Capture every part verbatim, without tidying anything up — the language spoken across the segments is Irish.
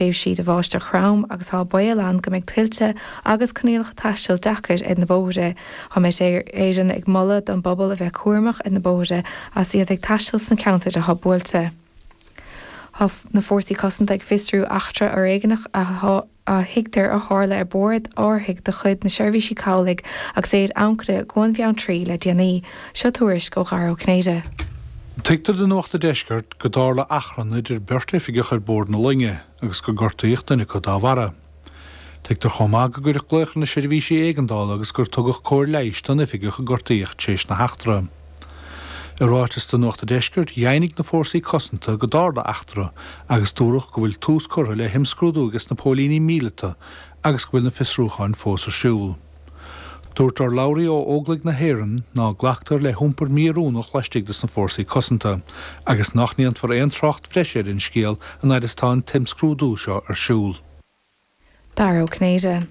Tréimhsí de bháisteach throm agus tá baol ann go mbeidh tuilte agus coinníollacha taistil deacair ar na bóithre. Tá Met Éireann ag moladh don bpobal a bheith cúramach ar na bóithre as iad ag taisteal sna ceantair atá buailte. Tá na fórsaí cosanta ag fiosrú eachtra fhoréigneach a a thuigtear a tharla ar bord árthaigh de chuid na Seirbhísí Cabhlaigh agus é ar ancaire i gCuan Bheanntraí le déanaí. Seo tuairisc ó Dhara Ó Cinnéide. Tuigtear do Nuacht an Deiscirt go dtarla achrann idir beirt oifigeach ar bord na loinge agus gur gortaíodh duine acu dá bharra. Tuigtear chomh maith go gcuireadh glaoch ar na seirbhísí éigeandála agus gur tugadh cóir leighis don oifigeach a gortaíodh tar éis na heachtra. I ráiteas do Nuacht an Deiscirt dheimhnigh na fórsaí cosanta go dtarla eachtra agus dúradh go bhfuil tús curtha le himscrúdú ag na póilíní míleata agus go bhfuil na fiosrúcháin fós ar siúl. Dúirt urlabhraí ó Óglaigh na hÉireann ná glactar le hiompar míoiriúnach laistigh de na fórsaí cosanta, agus nach ndéanfar aon trácht bhreise ar an scéal an fhad is atá an t-imscrúdú seo ar siúl. Dara Ó Cinnéide.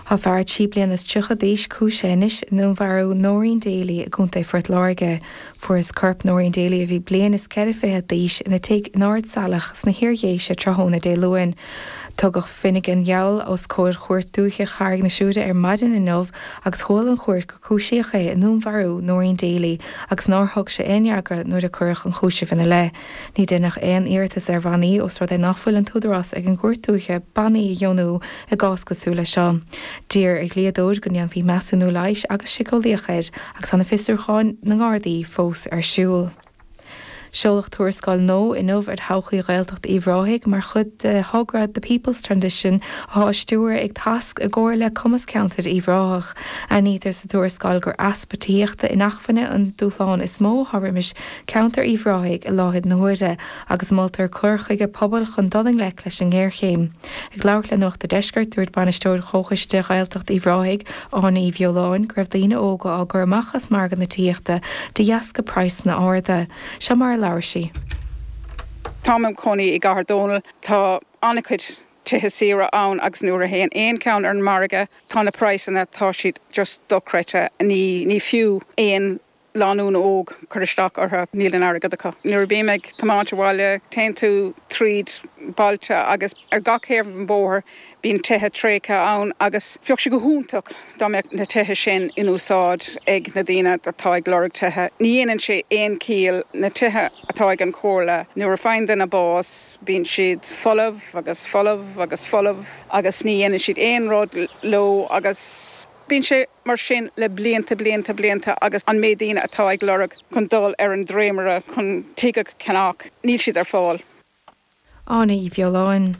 Tá fear trí bliana is tríocha d'aois cúisithe anois i ndúnmharú Noreen Daly i gContae Phort Láirge. Fuarthas corp Noreen Daly a bhí bliain is ceithre fiche d'aois ina tigh in Ard Salach sna hIardhéise tráthnóna Dé Luain. Tugadh Finnegan Yowell os comhair Chúirt Dúiche Charraig na Siúire ar maidin inniu agus chuala an chúirt gur cúisíodh é i ndúnmharú Noreen Daly agus nár thug sé aon fhreagra nuair a cuireadh an cúiseamh ina leith. Ní deineadh aon iarratas ar bhannaí os rud é nach bhfuil an t-údarás ag an gCúirt Dúiche bannaí a dheonú i gcás cosúil le seo. D'iarr a dhlíodóir go ndéanfaí measúnú leighis agus síceolaíoch air agus tá na fiosrúcháin na nGardaí fós ar siúl. Seoladh tuarascáil nua inniu ar thodhchaí Ghaeltacht Uíbh Ráthaigh mar chuid de thogra The People's Transition atá á stiúradh ag Tasc i gcomhar le Cumas Ceantair Uíbh Ráthach. Aithnítear sa tuarascáil gur easpa tithíochta inacmhainne an dúshlán is mó atá roimis ceantar Uíbh Ráthaigh i láthair na huaire agus moltar cur chuige pobail chun dul i ngleic leis an ngéarchéim. Ag labhairt le Nuacht an Deiscirt dúirt bainisteoir Chomhchoiste Ghaeltacht Uíbh Ráthaigh Áine Uí Bheoláin go raibh daoine óga á gcur amach as margadh na tithíochta de dheasca praghsanna arda. Seo mar a labhair sí. Táim im chónaí i gCathair Dónall tá an-chuid tithe saora ann agus nuair a théann aon cheann ar an margadh tá na praghsanna tá siad just dochreidte ní ní fiú aon lánúin óg cur isteach orthu níl an airgead acu. Nuair a bím ag tiomáint abhaile téann tú tríd bailte agus ar gach taobh an bóthar bíonn tithe tréigthe ann agus bheadh sé go hiontach dá mbeadh na tithe sin in úsáid ag na daoine atá ag lorg tithe. Ní dhéanann sé aon chiall na tithe atá ag an chomhairle nuair a faigheann duine bás bíonn siad folamh agus folamh agus folamh agus ní dhéanann siad aon rud leo agus bíonn sé mar sin le blianta blianta blianta agus an méid daoine atá ag lorg chun dul ar an dréimire chun tigh a cheannach níl siad ar fáil. Áine Uí Bheoláin.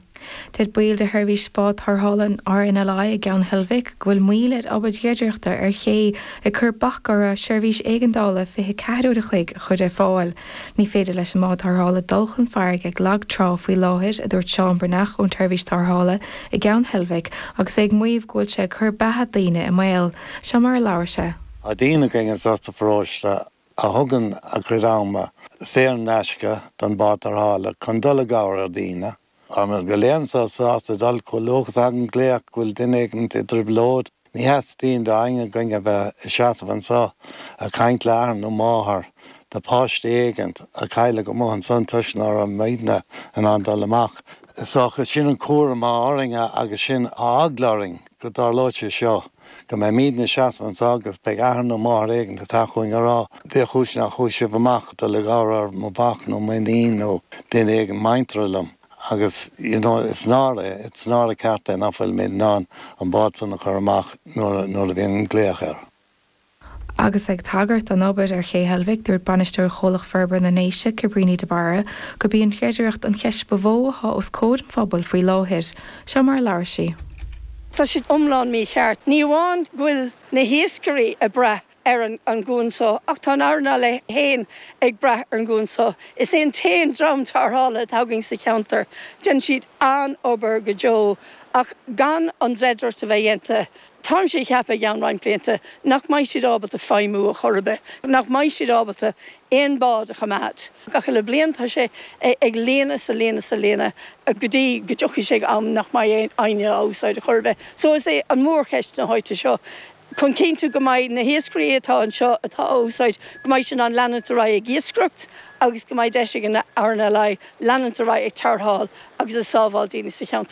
Deir baill de sheirbhís bád tarrthála an RNLI i gCeann Heilbhic go bhfuil moill ar obair dhreidireachta ar ché ag cur bac orthu seirbhís éigeandála fiche ceathair uair a chloig a chur ar fáil. Ní féidir leis an mbád tarrthála dul chun farraige ag lag trá faoi láthair a dúirt Seán Breathnach ón tseirbhís tarrthála i gCeann Heilbhic agus é ag maíomh go bhfuil sé ag cur beatha daoine i mbaol. Seo mar a labhair sé. Tá daoine againn anseo sa pharóiste a thugann a gcuid ama saor in aisce don bád tarrthála chun dul i gcabhair ar daoine. Táimid go léir anseo sásta dul chomh luath is a thagann glaoch go bhfuil duine éigin i dtrioblóid. Ní theastaíonn d'éinne againn a bheith ag seasamh anseo ag caint le athair nó máthair de páiste éigin a cailleadh amuigh ansan toisc nach raibh muidne in ann dul amach. Is dócha sin an cúram atá orainn agus sin eagla orainn go dtarlóidh sé seo, go mbeimidne ag seasamh anseo agus beidh athair nó máthair éigin ag teacht chugainn ag rá dé chúis nach chuaigh sibh amach dul i gcabhair ar mo mhac nó m'iníon nó duine éigin muinteartha liom. Agus you know is náire, it's náire ceart é nach bhfuilimid in ann an bád san a chur amach nuair nuair a bhíonn glaoch air. Agus ag tagairt don obair ar Ché Heilbhic, dúirt bainisteoir Chomhlacht Forbartha na nDéise, Cabríní de Barra, gurb í an chreidireacht an cheist ba mhó atá os comhair an phobail faoi láthair. Seo mar a labhair sí. Tá siad iomlán mícheart. Ní amháin go bhfuil na hiascairí ag brath ar an gcuan so ach tá an RNLI féin ag brath ar an gcuan so. Is é an t-aon dream tarrthála atá againn sa cheantar. Déanann siad an-obair go deo ach gan an dreidireacht a bheith déanta, táimse ag ceapadh i gceann roinnt blianta nach mbeidh siad ábalta feidhmiú a chor ar bith, nach mbeidh siad ábalta aon bád a choimeád. Gach uile bliain tá sé ag líonadh is a líonadh is a líonadh go dtí go dtiocfaidh sé ag am nach mbeidh éinne á úsáid a chor ar bith. So is é an mhórcheist na háite seo. Chun cinntiú go mbeidh na hiascairí atá anseo atá á úsáid go mbeidh siad in ann leanúint ar aghaidh ag iascaireacht agus go mbeidh deis ag an RNLI leanúint ar aghaidh ag tarrtháil agus ag sábháil daoine sa cheantar.